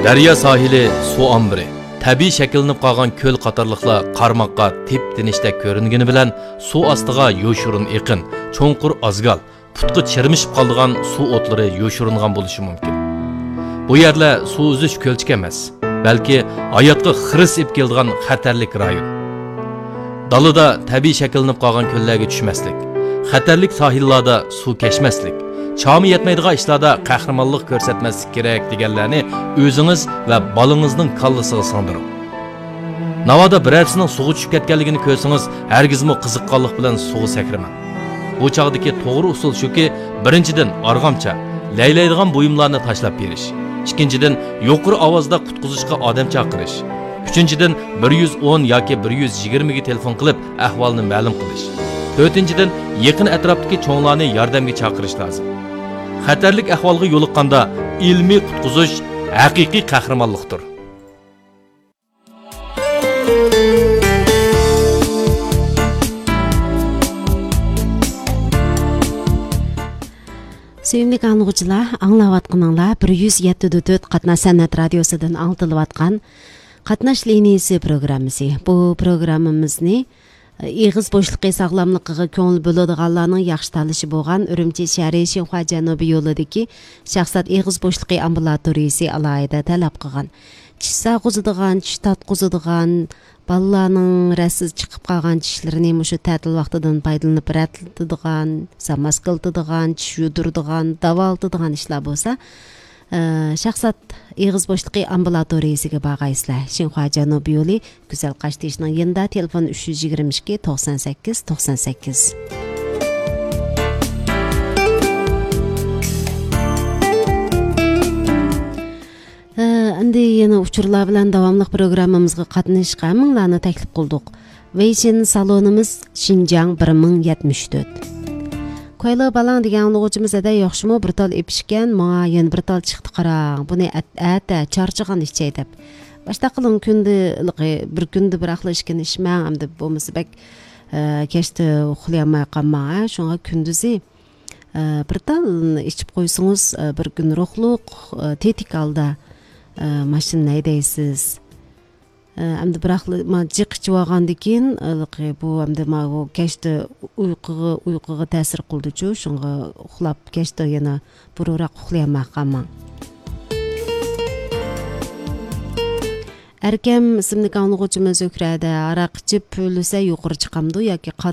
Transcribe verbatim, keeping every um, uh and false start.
دەريا ساھىلى، سۇ ئامبىرى، تەبىئىي شەكىللىنىپ قالغان كۆل قاتارلىقلار قارىماققا تىپ-تىنچتەك كۆرۈنگىنى بىلەن، سۇ ئاستىغا يوشۇرۇن ئېقىن، چوڭقۇر ئازگال، پۇتقا چىرمىشىپ قالىدىغان سۇ ئوتلىرى يوشۇرۇنغان بولۇشى مۇمكىن. بۇ يەرلەر سۇ ئۈزۈش كۆلچىكى ئەمەس، بەلكى ھاياتقا خىرىس ئېلىپ كېلىدىغان خەتەرلىك رايون. دالىدا تەبىئىي شەكىللىنىپ قالغان كۆللەرگە چۈشمەسلىك، خەتەرلىك ساھىللاردا سۇ كەچمەسلىك، چامى يەتمەيدىغان ئىشلاردا قەھرىمانلىق كۆرسەتمەسلىك كېرەك دېگەنلەرنى ئۆزىڭىز ۋە بالىڭىزنىڭ كاللىسىغا سىڭدۈرۈڭ. ناۋادا بىرەرسىنىڭ سۇغا چۈشۈپ كەتكەنلىكىنى كۆرسىڭىز، ھەرگىزمۇ قىزىققانلىق بىلەن سۇغا سەكرىمەڭ. بۇ چاغدىكى توغرا ئۇسۇل شۇكى، بىرىنچىدىن، ئارغامچا، لەيلەيدىغان بۇيۇملارنى تاشلاپ بېرىش. ئىككىنچىدىن، يۇقىرى ئاۋازدا قۇتقۇزۇشقا ئادەم چاقىرىش. ئۈچىنچىدىن، بىر يۈز ئون ياكى بىر يۈز يىگىرمىگە تېلېفون قىلىپ، ئەھۋالنى مەلۇم قىلىش. تۆتىنچىدىن، يېقىن ئەتراپتىكى چوڭلارنى ياردەمگە چاقىرىش لازىم. خەتەرلىك ئەھۋالغا يولۇققاندا، ئىلمىي قۇتقۇزۇش ھەقىقىي قەھرىمانلىقتۇر. سۆيۈملۈك ئاڭلىغۇچىلار، ئاڭلاۋاتقىنىڭلار بىر يۈز يەتتە دۆت قاتناش سەنئەت رادىيوسىدىن ئاڭلىتىلىۋاتقان قاتناش لىنىيىسى پروگراممىسى. بۇ پروگراممىمىزنى ئېغىز بوشلۇقى ساغلاملىقىغا كۆڭۈل بۆلىدىغانلارنىڭ ياخشى تاللىشى بولغان ئۈرۈمچى شەھىرى شىنخۇا جەنۇبىي يولىدىكى شاھزات ئېغىز بوشلۇقى ئامبۇلاتورىيىسى ئالاھىدە تەلەپ قىلغان. چىش ساغقۇزىدىغان، چىش تارتقۇزىدىغان، بالىلارنىڭ رەتسىز چىقىپ قالغان چىشلىرىنى مۇشۇ تەتىل ۋاقتىدىن پايدىلىنىپ رەتلىتىدىغان، زاماسكىلىتىدىغان، چىش يۇدۇرىدىغان، داۋالىتىدىغان ئىشلار بولسا، ئە، شاھزات ئېغىز بوشلۇقى ئامبۇلاتورىيىسىگە بارغايسىلەر. شىنخۇا جەنۇبىي يولى، گۈزەل قاشتېشىنىڭ يېنىدا، تېلېفون ئۈچ يۈز يىگىرمە ئىككى، توقسان سەككىز، توقسان سەككىز. ئە، ئەمدى يەنە ئۇچۇرلار بىلەن داۋاملىق پروگراممىمىزغا قاتنىشىشقا ھەممىڭلارنى تەكلىپ قىلدۇق. ۋېيشىن سالونىمىز شىنجاڭ بىر مىڭ يەتمىش تۆت. كويلو بالاڭ دېگەن ئاڭلىغۇچىمىز، ھەدە ياخشىمۇ، بىر تال ئېپىشكەن، ماڭا يەنە بىر تال چىقتى قاراڭ. بۇنى ئەت-، ئەتە چارچىغان ئىچەي دەپ. باشتا قىلىڭ، كۈندە، بىر كۈندە بىر ئاقلا ئىچكىنى ئىچمەڭ، ئەمدى بولمىسا بەك، ئە، كەچتە ئۇخلىيالماي قالماڭ، ھە. شۇڭا كۈندۈزى، ئە، بىر تال ئىچىپ قويسىڭىز، ئە، بىر كۈن روھلۇق، ئە، تېتىك ھالدا، ئە، ماشىنىنى ھەيدەيسىز. ئە، ئەمدى بىراقلا، ما، جىق ئىچىۋالغاندىن كېيىن، ھېلىقى بۇ ئەمدى ما، بۇ كەچتە ئۇيقۇغا، ئۇيقۇغا تەسىر قىلىدۇچۇ، شۇڭا ئۇخلاپ، كەچتە يەنە بۇرۇنراق ئۇخلىيالماي قالماڭ. ئەركەم ئىسىملىك ئاڭلىغۇچىمىز زۆھرەدە ھاراق ئىچىپ پۈۋلىسە يۇقىرى چىقامدۇ ياكى قان